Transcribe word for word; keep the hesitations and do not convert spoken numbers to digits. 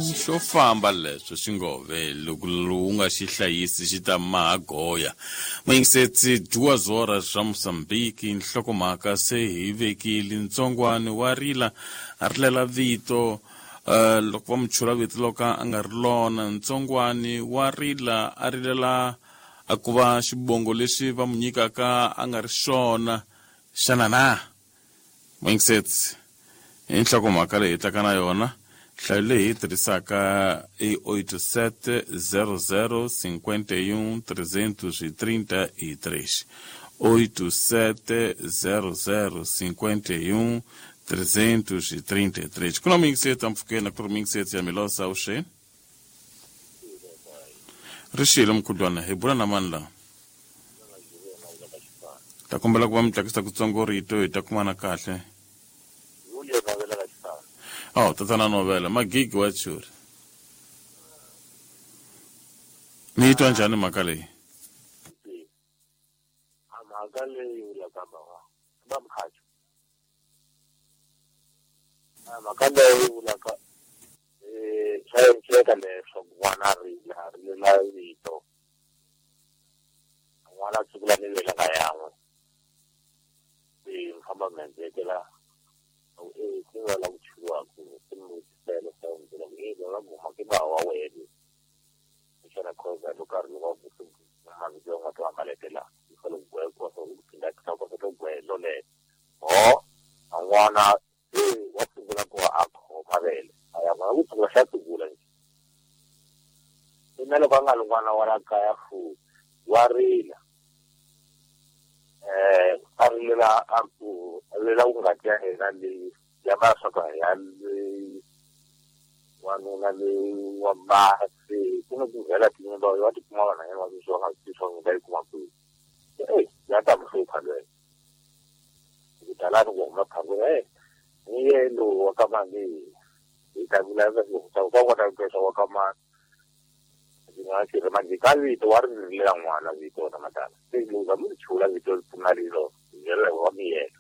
Xo famba leswo xingove loko lowu nga xi hlayisi xi ta maha goya. Muyingisetsi duas horas ra Mozambique nhlokomhaka se hi vekile ntsongwani wa rila a rilela vito uh, loko va mu chula vito loko a nga ri lona ntsongwani wa rila a rilela a ku va xibongo lexi va mu nyikaka a nga ri xona xana na muyingisetsi i nhlokomhaka leyi hi tlaka na yona nhlayo leyi hi tirhisaka i oito sete zero zero cinquenta e um trezentos e trinta e três oito sete zero zero cinquenta e um trezentos e trinta e três ku na muyingisetsi ampfhukeni ku ri muyingisetsi ya Milosa uxe ri xile mkhudlwana hi bula na mani laha ta kombela ku va mi tlakisa kutsongo rito hi ta kumana kahle. Oh, tatana novela magigi wa churi mi yi twa njhani mhaka leyi? Mhaka leyi vulaka va mkhacho mhaka leyi vulaka swa endleka leswaku n'wana a rila a rilela vito n'wana a sungula ni velaka yan'we se mi famba mi endlekela e ku nga la ku chuwaku ku mi vutisela swa ku e va guma ke ba wa wena xana khoza loko a ri wa ku mavito ya nga to hambaletela yi fanele ku gwekiwa swa ku phinda ku kota ku gwelo leyo ho a n'wana se wa sungula ku va a khoma vele a ya n'wana ku sungula xa sungula nje na loko a nga ri n'wana wa la kaya fu wa rila eh a rilela a ku rilela ku ngati ya yena leyi ya va swa ku ya leyi wanuna leyi wa basi ku na ku vhela tinyimba wa tikuma vana yena wa swi nga swi swa yi kuma kwihi e ya ta mi hlupha lweyo ku talani ku huma phangula e ni ye lowu wa ka mani hi ta vulavula ku ka kota ku twa wa ka mani ndzi nga xi ri manje ka vito wa ri rilela n'wana vito na matala se loko mi chula vito ri pfuna rilo hi ndlela wa miyela.